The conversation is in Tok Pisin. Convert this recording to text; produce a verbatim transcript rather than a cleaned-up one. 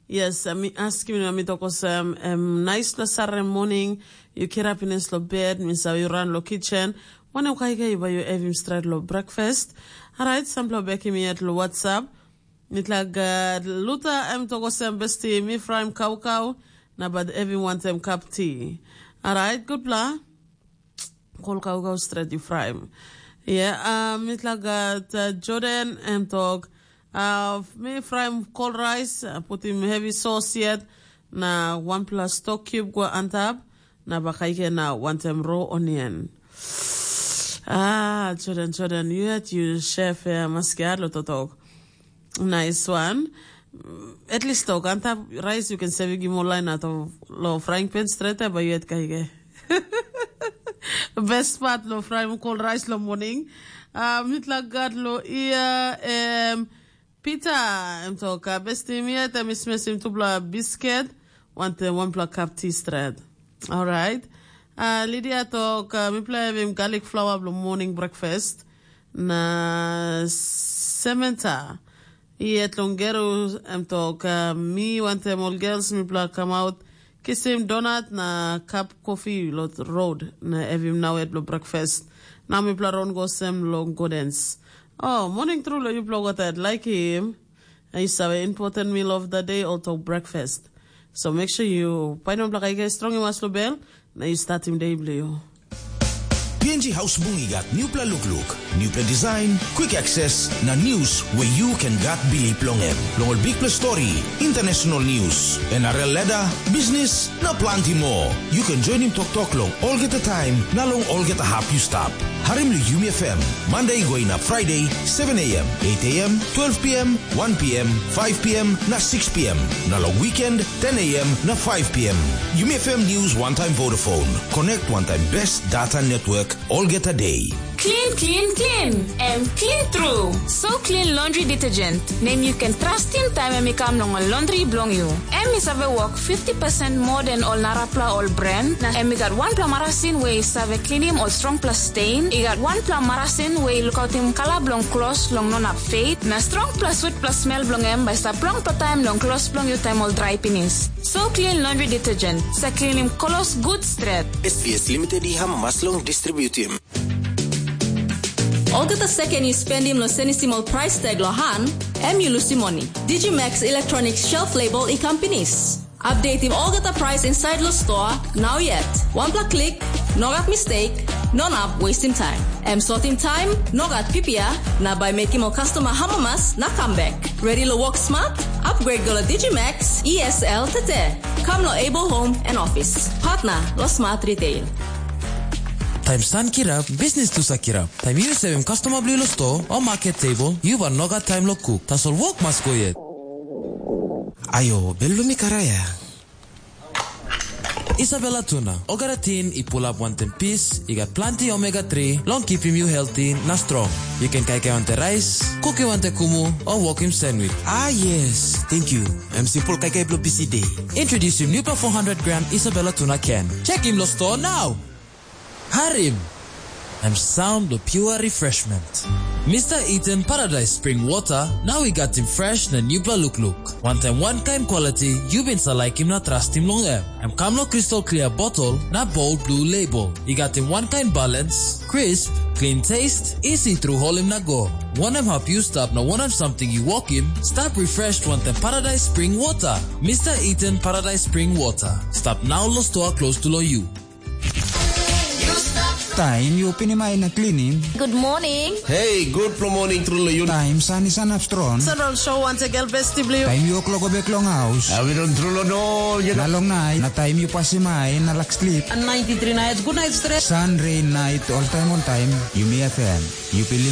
Yes, mi askim na mi tok olsem, em naispela sare moning, yu kirap pinis long bed, mi save yu ran long kitchen, wanem kaikai bai yu evim stret long breakfast? Alright, sampela bekim yet long WhatsApp. Mitla gad luta em tok olsem, besti mi fraim kaukau, na bat evim wantem kap ti. Alright, gutpela. Kol kaukau stret yu fraim. Yeah, uh, mitla gat uh, Jordan em tok, uh, mi fraim kol rais, uh, putim heavy sauce yet, na wanpela stock cube go antap, na bakaike na wantem raw onion. Ah, Jordan, Jordan, you had you chef uh, maskiat lo totok. Nice one. At least tok antap rice you can save gimo line out of lo frying pan straight up but yet kaige. Best part lo fry mo cold rice lo morning. Uh, mitla gad lo ia em Peter em tok uh, best team yet em is missing tupla biscuit. Want uh, one pla cup tea straight. All right. Uh, Lydia tok uh, mi play him garlic flour lo morning breakfast. Na Samantha. Yet long Geru em tok, uh, mi wantem ol girls mipela kamaut kisim donat na kap kofi lo road na evim nau yet lo breakfast. Na mipela ron go sem long godens. Oh, morning tru lo yupela watat like him. I save important meal of the day or to breakfast. So make sure you painom blakaike strong mas lo bel na you start him day blue. P N G House Bung i gat newpela lukluk, newpela design, quick access, na news where you can gat bilip long em. Long ol bikpela story, international news, N R L ladder, business, na planti more. You can join him toktok long olgeta time na long olgeta hap you stap. Harim lo Yumi F M, Monday going up Friday, seven a.m., eight a.m., twelve p.m., one p.m., five p.m. na six p.m. Na long weekend, ten a.m. na five p.m. Yumi F M News one time Vodafone. Connect one time best data network olgeta day. Clean, clean, clean. Em clean true. So clean laundry detergent. Nem you can trust in time em i kam long laundry bilong you. Em i save work fifty percent more than all narapla all brand. Na em i got one pla marasin way i save cleanim all strong plus stain. I got one pla marasin way i lukautim kala bilong clothes long non up fade. Na strong plus sweet plus smell bilong em by stap long pla time long clothes bilong you time all dry pinis. So clean laundry detergent. Sa cleanim clothes good straight. S V S Limited i hamamas long distributim. Olgeta seken yu spendim long senisim ol price tag long han, em yu lusim moni. Digimax Electronics Shelf Label i kam pinis. Updatim olgeta price inside lo store, now yet. One pla click, no gat mistake, no nap wasting time. Em sortim time, no gat pipia, na by making ol customer hamamas na come back. Ready lo work smart? Upgrade go lo Digimax E S L tete. Come lo Able Home and Office. Partner lo Smart Retail. Taim san kirap, bisnis tu sa kirap. Taim yu sevim kastoma bilong lo sto o market table, yu bai no gat taim lo kuk. Tasol wok mas go yet. Ayo, bel bilong mi karaya. Isabella Tuna, olgeta tin i pulap wantaim pis, i gat planti omega three long kipim yu healthy na strong. Yu ken kaikai wantaim rais, kukim wantaim kumu, o wokim sandwich. Ah yes, thank you. Em simple kaikai bilong busy day. Introducing new four hundred gram Isabella Tuna can. Check him lo store now. Harim! Em sound lo pure refreshment. Mister Eden Paradise Spring Water, now we got him fresh na new look look. One time, one kind quality, you been sa like him na trust him long em. Em kam lo crystal clear bottle na bold blue label. I got him one kind balance, crisp, clean taste, easy through hole him na go. One em help you stop na one em something you walk him, stop refreshed one time Paradise Spring Water. Mister Eden Paradise Spring Water. Stop now lo store close to lo you. Taim yu pinim ai na klinim. Good morning. Hey, good morning tru lo yu. Taim san i sanap strong. Sanral show once again besti blue. Taim yu kloko bek long haus. Awi don tru lo no. Na long nai, na taim yu pasim ai na lak slip. And ninety-three nights, good night stress. Sun, rain, night, all time, all time. Yumi F M. Yu pilim